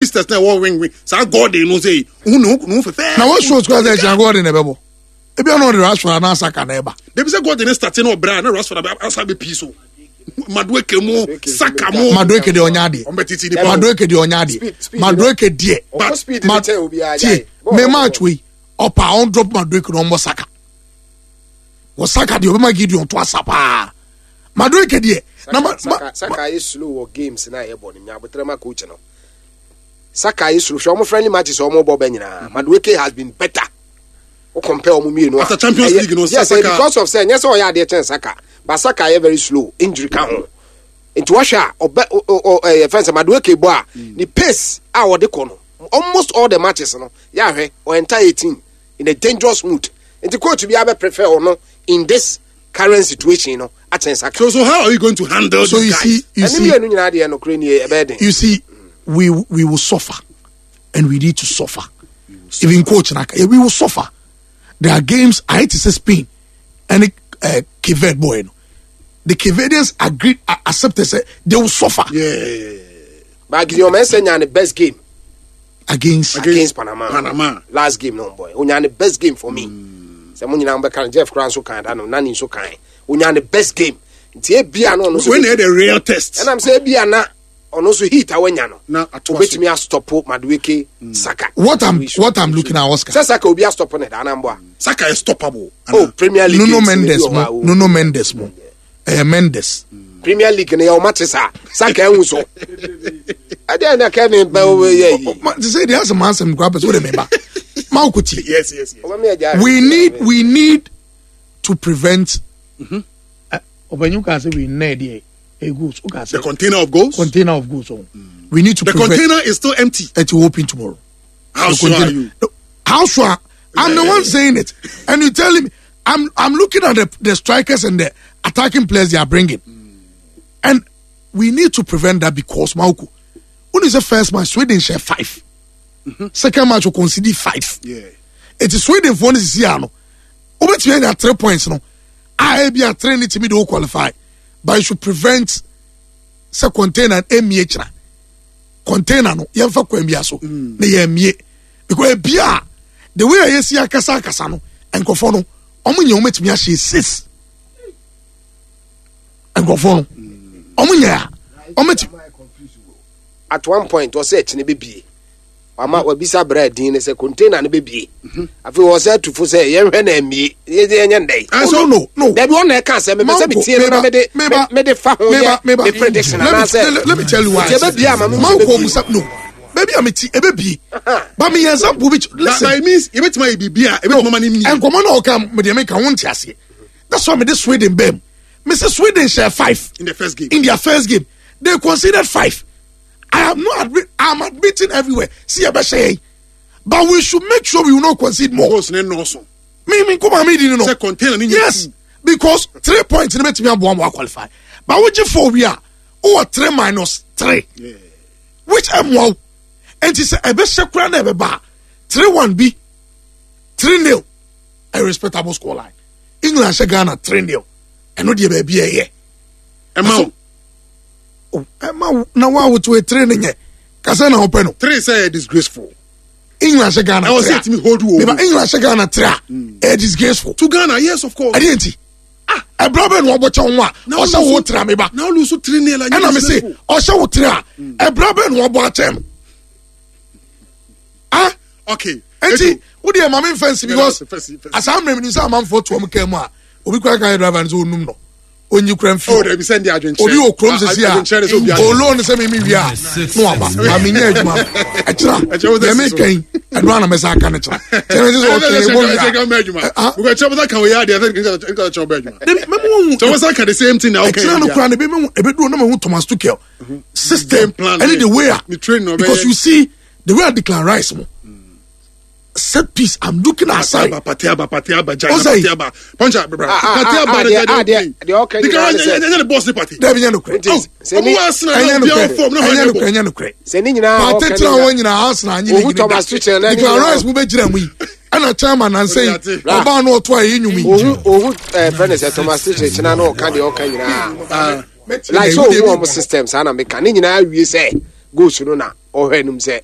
Sisters na ɛwɔ wing wing saa Gordon no sɛ ohun ne ho ne ho fɛfɛɛ. Na wɔn shows kura sɛ ɛkyɛn Gordon na ɛbɛbɔ ebi ɔno ɔde Rashford anaa Saka na ɛba. Debi sɛ Gordon ne start na ɔbrɛ a na Rashford abɛ asa abɛ pii so Madueke mu Saka mu. Madueke deɛ ɔnya adeɛ. Ɔmo bɛ titi nipa. Madueke deɛ ɔnya adeɛ. Madueke deɛ. Ma tie me match wei ɔpa ɔn drop Madueke na ɔmbɔ Saka. Wɔ Saka deɛ ɔbɛma Gideon to asa paa. Madueke deɛ. Na ma ma Saka ayɛ slow wɔ games na yɛ bɔ no nya abotrɛ ma coach no. Saka ayɛ slow hwɛ ɔmo friendly matches ɔmo bɔ bɛ nyinaa. Madueke has been better. O compare ɔmo mmienu a. After Champions League no yes, Saka. Because of sɛ nyɛ sɛ ɔyɛ adeɛ kyɛn Saka but Saka ayɛ very slow injury ka ho. Nti wɔhwɛ a ɔbɛ ɔ ɛyɛ fɛn sɛ Madueke bɔ a ne pace a ɔde kɔ no almost all the matches no yɛ ahwɛ ɔ enter 18 in a dangerous mood. Nti coach bi abɛ prefer ɔno in this current situation no akyɛn Saka. So so how are you going to handle so these you guys? See, you Ɛne see, mmienu nyinaa deɛ nokorɛ nie ɛbɛyɛ den. You see, we will suffer, and we need to suffer. Even coach naka, yeah, we will suffer. There are games I hate to say Spain and Cape Verde boy. No. The Cape Verdeans agreed, accepted, say they will suffer. Yeah. But Gideon Mensah nya ne best game against Panama. Panama. Last game no boy. Onya ne best game for me. Sɛ mo nyinaa bɛka no Jeff kora nso kan da no Nani nso kan. Onya ne best game. Nti ebia no ɔno nso. When the real test. Ɛnam sɛ ebia na ɔno nso heat a wanya no. Na ato aso. Obetumi astɔpo Madueke Saka. What I'm looking at Oscar. Sɛ Saka obi astɔpo ne da anamboa. Saka is stoppable. Oh, Premier League. Nuno games ne bi Mendes wɔ hɔ a, mo oh. Nuno Mendes mo. Mendes. Premier League ne yɛ ɔma te saa. Saka ehu so. Ɛdeɛ na Kevin bɛ wo yɛ yi. Ma te sɛ deɛ asɛm asɛm kura pɛ sɛ wode me ba. Ma wo ko tie. Yes. Ɔma mi agya. We need to prevent. Ɔbɛnyu ka sɛ we nɛ deɛ e goals. O ka The sɛ container of goals. container of goals. Oh. We need to The prevent. container is still empty. It will open tomorrow. How The sure are container. you? No, How sure? I'm the one saying it, and you telling me I'm looking at the strikers and the attacking players they are bringing, and we need to prevent that because Mauko, when is the first match Sweden share 5, second match we concede 5. Yeah. It is Sweden for this year no. Obetumi anya 3 points no. A bi a 3 ne timi de qualify, but you should prevent sɛ container emie kyerɛ container no yɛmfa kwan bi aso na yɛmmie because ebi a the way a yɛsi akasa akasa no nkurɔfoɔ no ɔmo nyɛ ɔmo etumi ahyɛ 6 nkurɔfoɔ no ɔmo nyɛ a ɔmo etumi. At one point ɔsɛ ɛkyene bɛbie wama wabisa brɛ din ne sɛ container no bɛbie afei wɔ sɛ atufo sɛ yɛnhwɛ na amie yɛnyɛ ndɛn Oh, no. Dabi ɔna ɛka sɛ mepɛ sɛ metie no na mede fa ho yɛ me prediction anaasɛ let me tell you why. Nti ɛbɛbie ama me Manko bɛbie. Musa no. Baby I'm ti ɛbɛbie. But me example bi listen. By means yɛbɛtumi ayɛ biribi a ɛbɛtumi ama no mie. Nkɔmɔ na ɔka me deɛ meka wo nte aseɛ. That's why me de Sweden bɛm. Me say Sweden share 5 in the first game. In their first game, they conceded 5. I am not admit, I am admitting everywhere. See ɛbɛhyɛ yɛn. But we should make sure we will not concede more. Goals ne nɔɔso. Me come me di no. Sɛ container ne nyɛ Yes, because 3 points ne betumi aboa mo qualify. But we 4 we are over 3 minus 3. Yeah. Which am wow. And she said ɛbɛhyɛ kura na ɛbɛba 3-1 bi 3-0 a respectable score line. England hyɛ Ghana 3-0. Ɛno deɛ baabi ɛyɛ. Ɛma wo. Oh, ɛma wo na wa woto 3 ne nyɛ. Kasa na wopɛ no. 3 sɛ disgraceful. England hyɛ Ghana Ɛwɔ 3. sɛ ɛtumi hold wo. Meba England hyɛ Ghana 3 a. Ɛyɛ disgraceful. To Ghana, yes of course. Ɛdeɛ nti. Ɛbrɛ bɛ na wɔbɔ kyɛw ho a ɔhyɛ wo 3 meba. Na olu so 3-0 a. Ɛna me se ɔhyɛ wo 3 a ɛbrɛ bɛ na wɔbɔ akyɛn no. Ah. Okay. Enti wo deɛ ma me mfɛnsi because asa mmerɛ mi sɛ amanfoɔ to wɔn kaa mu a obi kura kan yɛ driver no sɛ onum no onyi kura mfi Oh, dabi sɛ ndi adwenkyerɛ. obi wɔ kurom sisi a Adwenkyerɛ de sɛ obi adwenkyerɛ. olo ne sɛ mimi wie a na waba maame nyɛ adwuma ɛkyerɛ Ɛkyerɛ wo sɛ deɛ si so. meka yi ɛno ana mɛsa aka no kyerɛ kyerɛ me sɛ ɔtwɛn ɛbɔ wie a Ɛkyerɛ bɛ adwuma. Because kyerɛ bɛ ka wo yɛ adeɛ sɛ nka kyerɛ bɛ adwuma. Dabi mɛmu wɔn Kyerɛ bɛ ka the same thing na okay. ɛkyerɛ no kura no ebi mehu ebeduro na mehu Thomas Tuchel system Game plan, ɛne the way a Ne train no ɔbɛyɛ. because you see the way I declare rice mo set piece I'm looking aside. Aba, pate aba, jai, Ɔsɛ yi. pate aba. Punch bra. Ah, Pate aba, ah, jai, ah, jai. deɛ ɔka nyinaa ne sɛ- Because ɛnyɛ ne boss ne party. Dabi nyɛ nokorɛ. Nti, sɛ Ɔmo ni- wɔ Arsenal Ɛnyɛ na obiara nokorɛ. form na Ɛnyɛ hɔn nokorɛ. Ɛnyɛ nokorɛ. Sɛ ne nyinaa Pate ɔka tena ne hɔ nyinaa Arsenal anyi Ohu ne Thomas Tuchel na ne Declan nyinaa- Rice mu bɛgyina mu yi. Ɛna chairman nansa yi Ɔde ate. ɔbaa no ɔto a ɛyɛ nnwom yi. Ohu fɛ ne sɛ Thomas Tuchel kyena na ɔka deɛ ɔka nyinaa. Like sɛ ohu ɔmo system saa na meka ne nyinaa wie sɛ Goals no na ɔhwɛ anim sɛ.